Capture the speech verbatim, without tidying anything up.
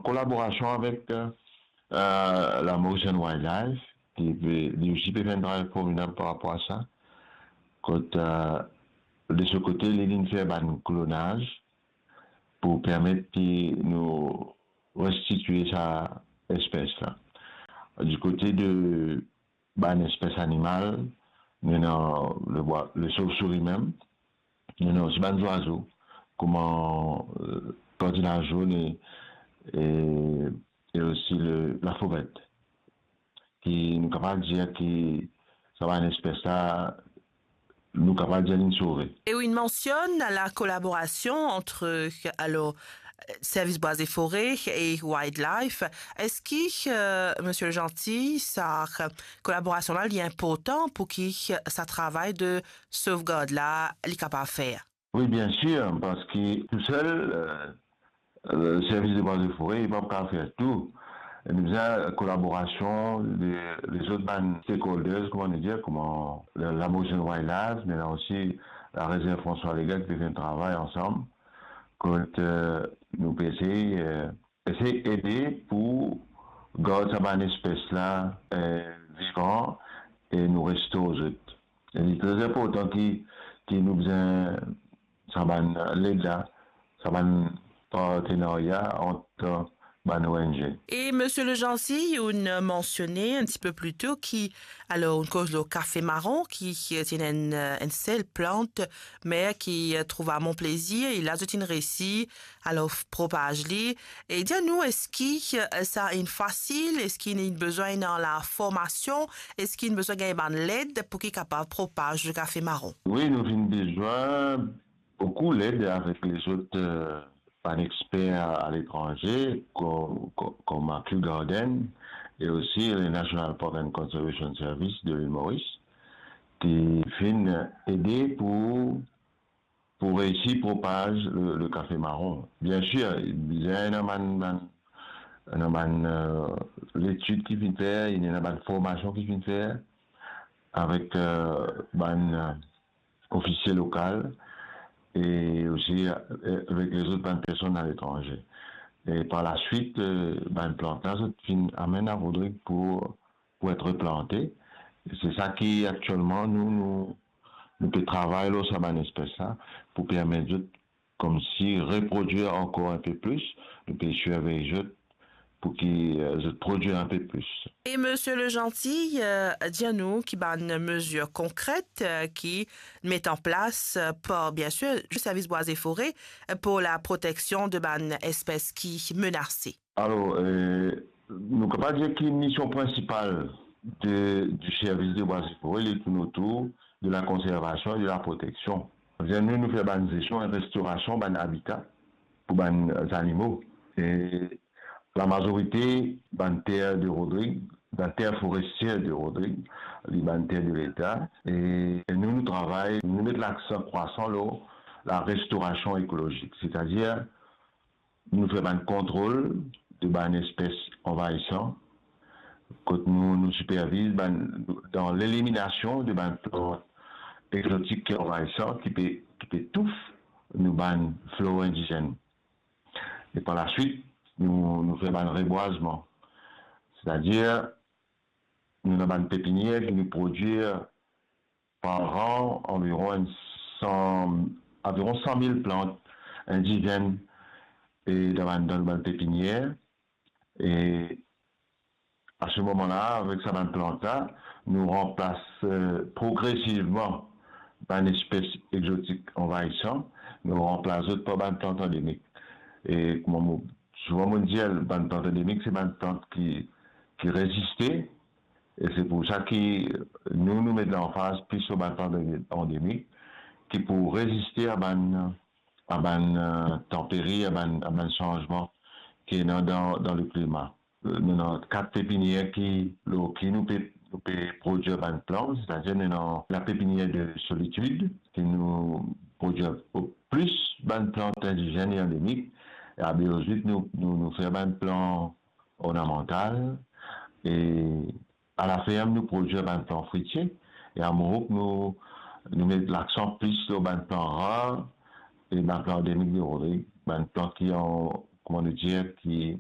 kolaborasion avek, eh, eh, la Mauritian Wildlife, ki pe, li osi pe fer enn travay formidab par rapor a sa. Kot, eh, de so kote, li vinn fer bann klonaz pou permet ki nou restitie sa espes la. Di kote de bann espes animal, nou ena le bwa, le sovsouri mem, nou ena osi bann zwazo, kouma, eh, kardinal zonn e, e, e osi le, lafovret. Ki nou kapav dir ki sa bann espes la, nou kapav dir li sove. E ou inn mansionn la kolaborasion ant, alor, Service Bois et Forêts e Wildlife. Eski, eh, Misie Legentil, sa kolaborasion la, li inportan pou ki sa travay de sovgard la, li kapav fer? Wi, bien sir, parski tousel, eh, eh, Service de Bois et Forêts, li pa kapav fer tou. E nou bizin kolaborasion de, lezot bann stakeholders, kouma nou dir, kouma la, la Mauritian Wildlife, me ena osi la Rezerv François Legain ki pe fer enn travay ansam, kot, eh, nou pe esey, eh, esey ede pou gard sa bann espes la, eh, vivan e nou restor zot. E li tre inportan ki, ki nou bizin sa bann led la, sa bann partenarya ant bann O N G. E Misie Legentil, ou'nn mansione enn tipe pli to ki, alor, ou'nn koz lor kafe maron, ki, ki ena enn, enn sel plant, me ki trouv a Mont Plaisir, e la zot inn resi, alor, propaz li. E dir nou, eski, eh, sa inn fasil, eski inn bizin ena laformasion, eski inn bizin gagn bann led pou ki kapav propaz le kafe maron? Wi, nou finn bizin boukou led avek lezot, eh, bann exper aletranze, kom, kom, kom Kew Gardens e osi le National Park and Conservation Service de Lil Moris, ki finn ede pou, pou reisi propaz le, le kafe maron. Bien sir, bizin ena bann, bann, ena bann, eh, letid ki finn fer, ena bann formasion ki finn fer avek, eh, bann, eh, ofisie lokal e osi, eh, avek lezot bann personn aletranze. E par laswit, eh, bann plant la, zot finn amenn a Rodrig pou, pou et replante. E se sa ki aktielman nou, nou, nou pe travay lor sa bann espes la, pou permet zot koumsi reprodwir ankor enpe plis, nou pe sirvey zot pou ki, eh, zot prodwir enpe plis. E Misie Legentil, eh, dir nou ki bann mezir konkret, eh, ki met an plas, eh, par, bien sir, Service Bois et Forêts, eh, pou la proteksion de bann espes ki menase. Alor, eh, nou kapav dir ki mision prinsipal de, du Service de Bois et Forêts, li tourn otour de la konservasion e de la proteksion. Savedir nou, nou fer bann zestion e restorasion bann abita pou bann zanimo. E lamazorite bann ter de Rodrig, bann ter forestier de Rodrig, li bann ter de Leta. E, e nou, nou travay, nou met laksan krwasan lor la restorasion ekolozik, setadir nou fer bann kontrol de bann espes anvayisan, kot nou, nou siperviz bann, dan leliminasion de bann plant egzotik ki anvayisan, ki pe, ki pe touf nou bann flor indizenn. E par laswit, nou, nou fer bann rebwazman. Setadir, nou ena bann pepinier ki nou prodwir par an anviron enn san, anviron san mil plant indizenn, e dan bann, dan bann pepinier. E a se moman la, avek sa bann plant la, nou ranplas, eh, progresivman bann espes egzotik anvayisan, nou ranplas zot par bann plant andemik. E kouma mo, souvan mo dir, bann plant andemik, se bann plant ki, ki reziste, e se pou sa ki nou, nou met lanfaz plis lor bann plant andemik, ki pou reziste a bann, a bann, eh, tanperi, a bann, a bann sanzman ki ena dan, dan le klima. Eh, nou ena kat pepinier ki, lor ki nou pe, nou pe prodwir bann plant, setadir nou ena la pepinier de Solitude, ki nou prodwir plis bann plant indizenn e andemik, e a Beozit nou, nou, nou fer bann plant ornamantal, e a laferm nou prodwir bann plant fritie, e a Mourouk nou, nou met laksan plis lor bann plant rar e bann plant andemik de Rodrig, bann plant ki an, kouma nou dir, ki,